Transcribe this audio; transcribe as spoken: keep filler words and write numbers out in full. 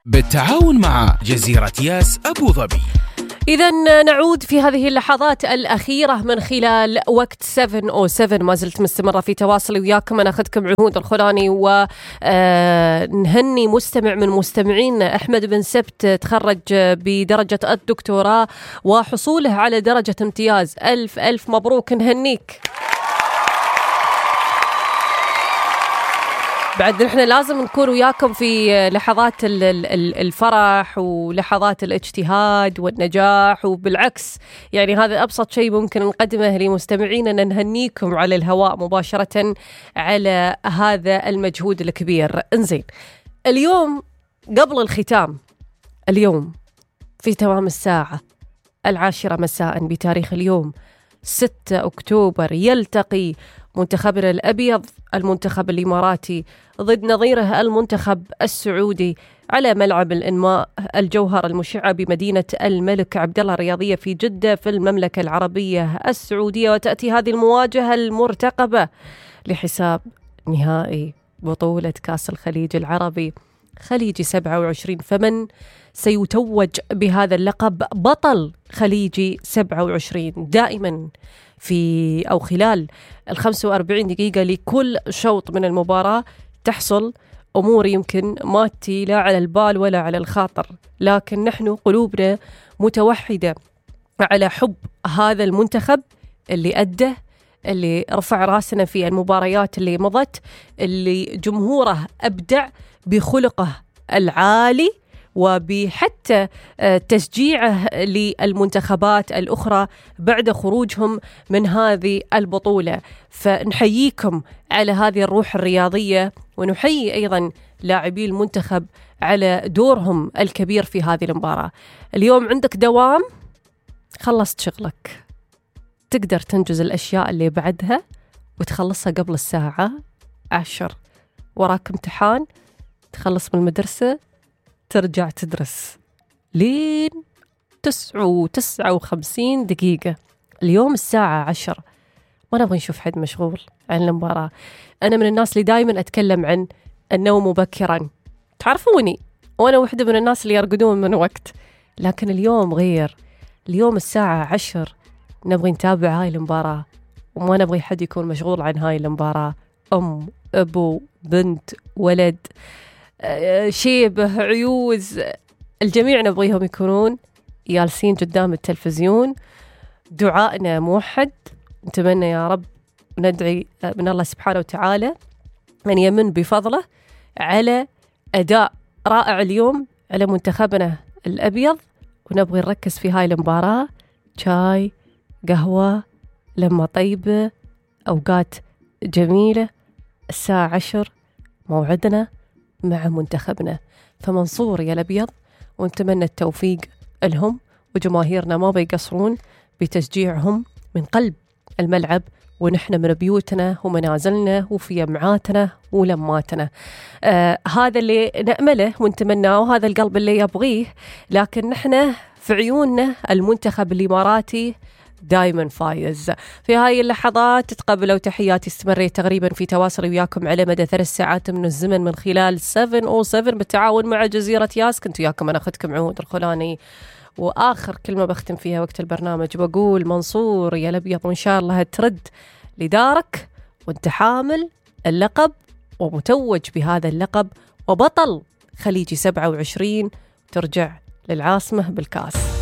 بالتعاون مع جزيرة ياس أبو ظبي. إذن نعود في هذه اللحظات الأخيرة من خلال وقت سبعة أو سبعة. ما زلت مستمرة في تواصلي وياكم. أنا أخذكم عهود الخلاني ونهني مستمع من مستمعين أحمد بن سبت، تخرج بدرجة الدكتوراه وحصوله على درجة امتياز. ألف ألف مبروك، نهنيك. بعد نحن لازم نكون وياكم في لحظات الفرح ولحظات الاجتهاد والنجاح، وبالعكس يعني هذا أبسط شيء ممكن نقدمه لمستمعينا، نهنيكم على الهواء مباشرة على هذا المجهود الكبير. انزين، اليوم قبل الختام، اليوم في تمام الساعة العاشرة مساء بتاريخ اليوم ستة أكتوبر يلتقي منتخبنا الأبيض المنتخب الإماراتي ضد نظيره المنتخب السعودي على ملعب الإنماء الجوهر المشعة بمدينة الملك عبدالله الرياضية في جدة في المملكة العربية السعودية. وتأتي هذه المواجهة المرتقبة لحساب نهائي بطولة كأس الخليج العربي خليجي سبعة وعشرين. فمن سيتوج بهذا اللقب بطل خليجي سبعة وعشرين؟ دائما في أو خلال الخمس وأربعين دقيقة لكل شوط من المباراة تحصل أمور يمكن ما تي لا على البال ولا على الخاطر، لكن نحن قلوبنا متوحدة على حب هذا المنتخب اللي أدى، اللي رفع راسنا في المباريات اللي مضت، اللي جمهوره أبدع بخلقه العالي وبحتى تشجيعه للمنتخبات الأخرى بعد خروجهم من هذه البطولة. فنحييكم على هذه الروح الرياضية، ونحيي أيضا لاعبي المنتخب على دورهم الكبير في هذه المباراة. اليوم عندك دوام، خلصت شغلك، تقدر تنجز الأشياء اللي بعدها وتخلصها قبل الساعة عشر. وراك امتحان، تخلص من المدرسة ترجع تدرس لين تسعة وتسعة وخمسين دقيقة. اليوم الساعة عشر، ما نبغى نشوف حد مشغول عن المباراة. أنا من الناس اللي دايما أتكلم عن النوم مبكرا، تعرفوني، وأنا واحدة من الناس اللي يرقدون من وقت، لكن اليوم غير. اليوم الساعة عشر نبغي نتابع هاي المباراة، وما نبغي حد يكون مشغول عن هاي المباراة. أم، أبو، بنت، ولد، شيبه، عيوز، الجميع نبغيهم يكونون جالسين قدام التلفزيون. دعائنا موحد، نتمنى يا رب، ندعي من الله سبحانه وتعالى أن يمن بفضله على أداء رائع اليوم على منتخبنا الأبيض. ونبغي نركز في هاي المباراة، شاي، قهوة، لما طيبة، أوقات جميلة. الساعة عشر موعدنا مع منتخبنا، فمنصور يا الأبيض، ونتمنى التوفيق لهم، وجماهيرنا ما بيقصرون بتشجيعهم من قلب الملعب، ونحن من بيوتنا ومنازلنا وفي جمعاتنا ولماتنا. آه هذا اللي نأمله ونتمناه، وهذا القلب اللي يبغيه. لكن نحن في عيوننا المنتخب الإماراتي دايما فايز. في هاي اللحظات تتقبلوا تحياتي، استمريت تقريبا في تواصل وياكم على مدى ثلاث ساعات من الزمن من خلال سبعة أو سبعة بالتعاون مع جزيرة ياس. كنت وياكم أنا أخذكم عهود الخلاني، وآخر كلمة بختم فيها وقت البرنامج بقول منصور يا الأبيض، وإن شاء الله ترد لدارك وانت حامل اللقب ومتوج بهذا اللقب وبطل خليجي سبعة وعشرين، ترجع للعاصمة بالكاس.